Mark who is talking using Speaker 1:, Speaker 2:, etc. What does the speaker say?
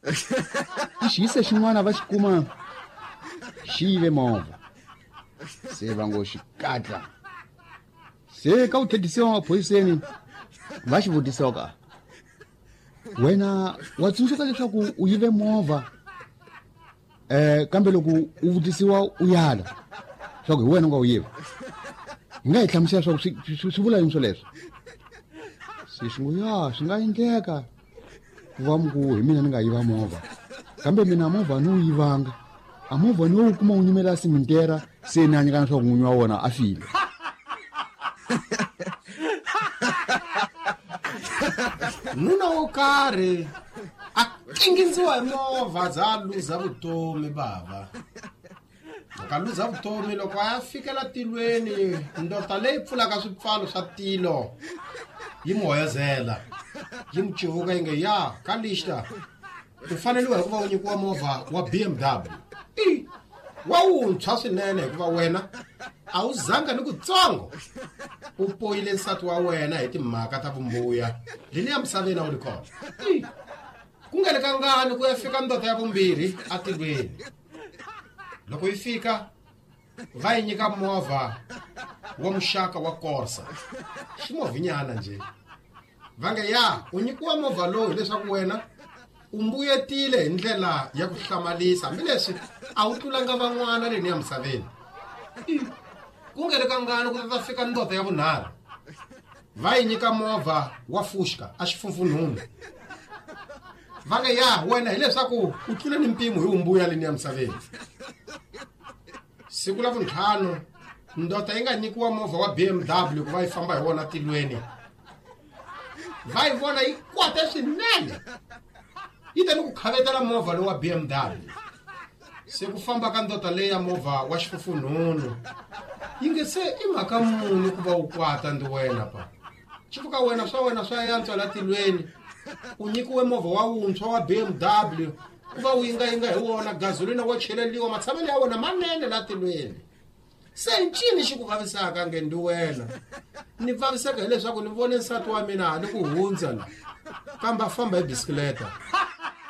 Speaker 1: I xiyise xin'wana va xi kuma xi yive movha, se va ngo xikatla. Se ka ku tlhedisiwa maphoriseni va xi vutisiwa ka, wena wa tsundzuka leswaku u yive movha? Kambe loko u vutisiwa u yala swa ku hi wena u nga wu yiva. Hi nga hi hlamusela swa ku swi vula yini swoleswo? Se xi ngo, ya, swi nga endleka ku va mi ku hi mina ni nga yiva movha, kambe mina movha ni wu yivanga. A movha ni wu kuma wu nyimela simentera, se ni a nyikana swa ku n'winyi wa wona a file.
Speaker 2: Nuna wo karhi a kingindziwa hi movha za luza vutomi bava. Loko a luza vutomi, loko a ya fikela tilweni, ndota leyi pfulaka swipfalo swa tilo yi n'wi hoyozela, yi n'wi civuka yi nge, ya ka lixta u faneliwa hikuva u nyikiwa movha wa BMW i wa wuntshwa swinene, hikuva wena a wu zanga ni kutsongo u poyile nsati wa wena hi timhaka ta vumbuya leni ya misaveni a wu ri kona. Ku nga le ka ngani ku ya fika ndota ya vumbirhi atilweni. Loko yi fika va yi nyika movha wa muxaka wa Corsa, ximovhinyana nje. Va nge, ya, u nyikiwa movha lowu hileswaku wena u mbuyetile hi ndlela ya ku hlamalisa, hambileswi a wu tlulanga van'wana leni ya misaveni. Ku nga ri kangani ku ta fika ndota ya vunharhu, va yi nyika movha wa Fushka a xifumfunhunu. Va nge, ya, wena hileswaku u tlule ni mpimo hi umbuya leni ya misaveni. Siku la vuntlhanu ndota yi nga nyikiwa movha wa BMW ku va yi famba hi wona tilweni, va yi vona yi kwate swinene, yi ta ni ku khavetela movha lowu wa BMW. Se ku famba ka ndota leyi ya movha wa xifufunhunu yi nge, se i mhaka muni ku va u kwata ndi wena pa xifuka wena swa wena swa yantswa la tilweni, u nyikiwe movha wa wuntshwa wa BMW ku va u yingayinga hi wona, gazolina wa cheleliwa, matshamelo ya wona manene la tilweni. Se ncini xi ku vavisaka? Nge ndi wena ni vaviseka hileswaku ni vone nsati wa mina hali ku hundza la, kambe a famba hi bisikileta.